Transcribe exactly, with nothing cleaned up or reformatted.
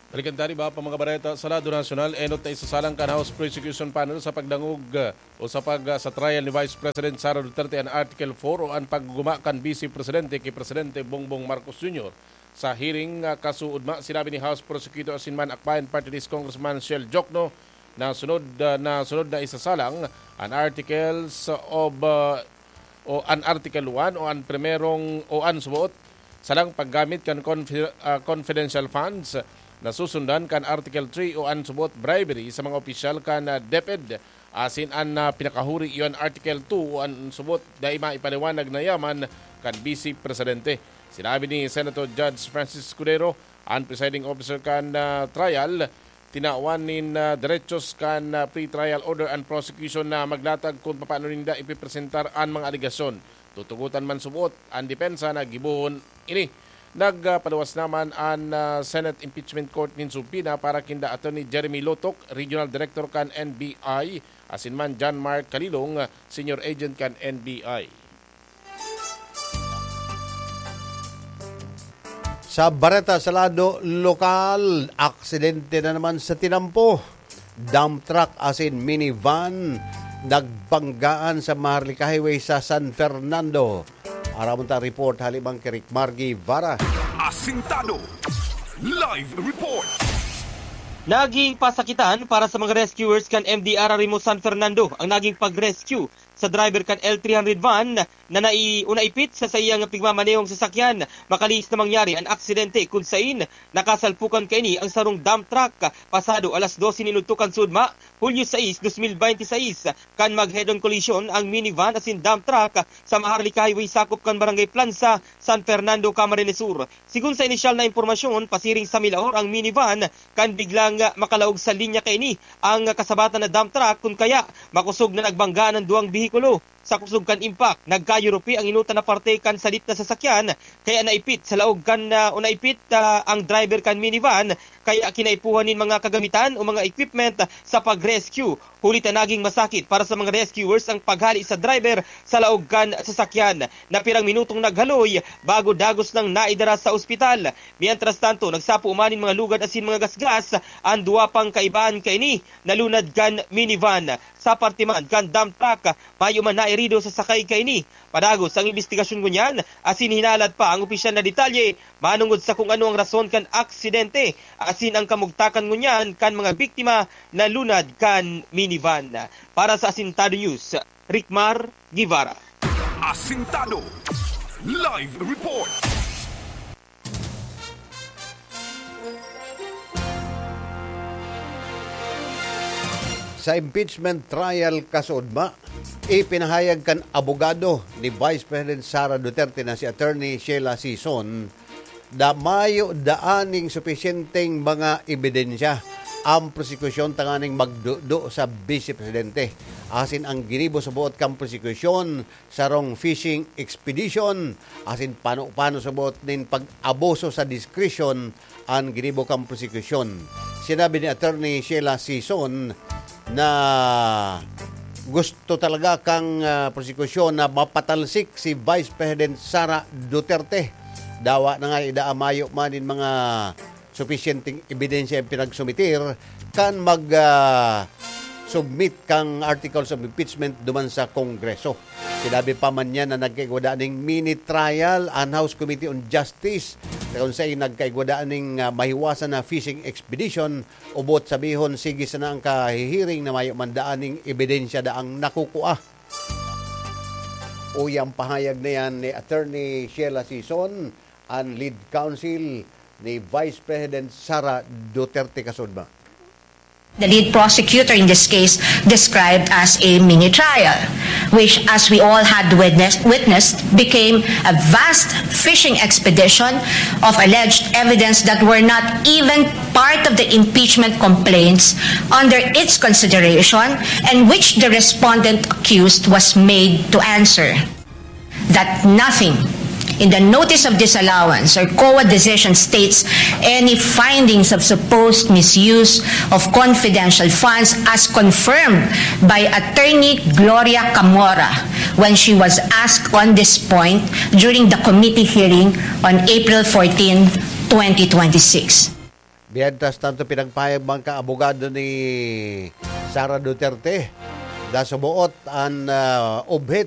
Balikan ta an iba pa mga bareta sa lado nasyonal. Enot na isasalang kan House Prosecution Panel sa pagdangog, uh, o sa pag, uh, sa trial ni Vice President Sara Duterte an Article four o an pagguguma kan Vice Presidente ki Presidente Bongbong Marcos Junior. Sa hearing, uh, kasuodma, sinabi ni House Prosecutor asin man Akbayan Party List Congressman Shell Jokno na sunod, uh, na sunod na isasalang an Articles of, uh, o an Article one o an primerong o an suboot salang paggamit kan confi-, ah, confidential funds na susundan kan Article three o an suboot bribery sa mga opisyal kan, ah, DepEd. Asin an, ah, pinakahuri iyo an Article two o an suboot dai maipaliwanag na yaman kan Vice Presidente. Sinabi ni Senator Judge Francis Escudero, an presiding officer kan, ah, trial, tinawan nin, ah, derechos kan, ah, pre-trial order an prosecution na maglatag kun papaano ninda ipipresentar an mga alegasyon. Tutugotan man suboot an depensa na gibohon ini. Nagpaluwas naman an, ah, Senate Impeachment Court nin subpoena para kinda Attorney Jeremy Lotok, Regional Director kan N B I, asin man John Mark Kalilong, Senior Agent kan N B I. Sa bareta sa lado lokal, aksidente na naman sa tinampo. Dump truck asin minivan nagbanggaan sa Maharlika Highway sa San Fernando. Aramon ta report hali man ki Rick Margie Vara. Asintado. Live report. Naging pasakitan para sa mga rescuers kan M D R Rimo San Fernando ang naging pag-rescue sa driver kan L three hundred van na nai-, o naipit sa saiyang pigmamanehong sasakyan. Makalihis na mangyari an aksidente kun sain nakasalpukan kaini ang sarong dump truck pasado alas dose nin udto kan sudma, Hulyo sais, dos mil bente sais, kan mag-head-on collision ang minivan asin dump truck sa Maharlika Highway sakop kan Barangay Plansa, San Fernando, Camarines Sur. Sigon sa inisyal na impormasyon, pasiring sa Milaor ang minivan kan biglang makalaog sa linya kaini ang kasabatan na dump truck kun kaya makosog na nagbanggaan an duwang behikulo. Sa kusog kan impact, nagkayurupi ang inutan na parte kan salit na sasakyan, kaya naipit sa laog kan, ah, o naipit, ah, ang driver kan minivan, kaya kinaipuhan nin mga kagamitan o mga equipment sa pag-rescue. Huli ta naging masakit para sa mga rescuers ang paghali sa driver sa laog kan sasakyan, na pirang minutong naghaloy bago dagos nang naidara sa ospital. Mientras tanto, nagsapo man nin mga lugad asin mga gasgas an duwa pang kaibahan kaini na lunad kan minivan. Sa parte man kan dump truck, mayo man nairido sa sakay kaini. Padagos ang imbestigasyon ngunyan, asin hinalat pa ang opisyal na detalye manongod sa kung ano ang rason kan aksidente, asin ang kamugtakan ngunyan kan mga biktima na lunad kan minivan. Para sa Asintado News, Rickmar Guevara. Asintado. Live report. Sa impeachment trial kasuodma, ipinahayag kan abogado ni Vice President Sara Duterte na si Attorney Sheila Sison na mayo daaning supisyenteng mga ebidensya ang prosekusyon tanganing magdudo sa Vice Presidente. Asin ang ginibo sa buot kan prosekusyon, sarong fishing expedition, asin pano-pano sa buot nin pag-abuso sa diskresyon an ginibo kan prosekusyon. Sinabi ni Attorney Sheila Sison na gusto talaga kan, ah, prosekusyon na mapatalsik si Vice President Sara Duterte. Dawa na nga, ida mayo man nin mga supisyenteng ebidensya ang pinagsumiter kan mag, ah, submit kan articles of impeachment duman sa Kongreso. Sinabi pa man niya na nagkaigwa daa ning mini trial an House Committee on Justice, na kung saan nagkaigwa daa ning, ah, mahiwasan na fishing expedition, ubot sabihon, sige sana ang kahihiring na mayo man daa ning ebidensya daang nakukua. Uya ang pahayag na yan ni Attorney Sheila Sison, an lead counsel ni Vice President Sara Duterte kasuodma. The lead prosecutor in this case described as a mini trial, which, as we all had witnessed, witnessed, became a vast fishing expedition of alleged evidence that were not even part of the impeachment complaints under its consideration, and which the respondent accused was made to answer. That nothing in the notice of disallowance or COA decision states any findings of supposed misuse of confidential funds as confirmed by Attorney Gloria Camora when she was asked on this point during the committee hearing on April fourteen, twenty twenty-six. Mientras tanto, pinagpahayag man ka abogado ni Sara Duterte, nasuboot an, ah, ubhit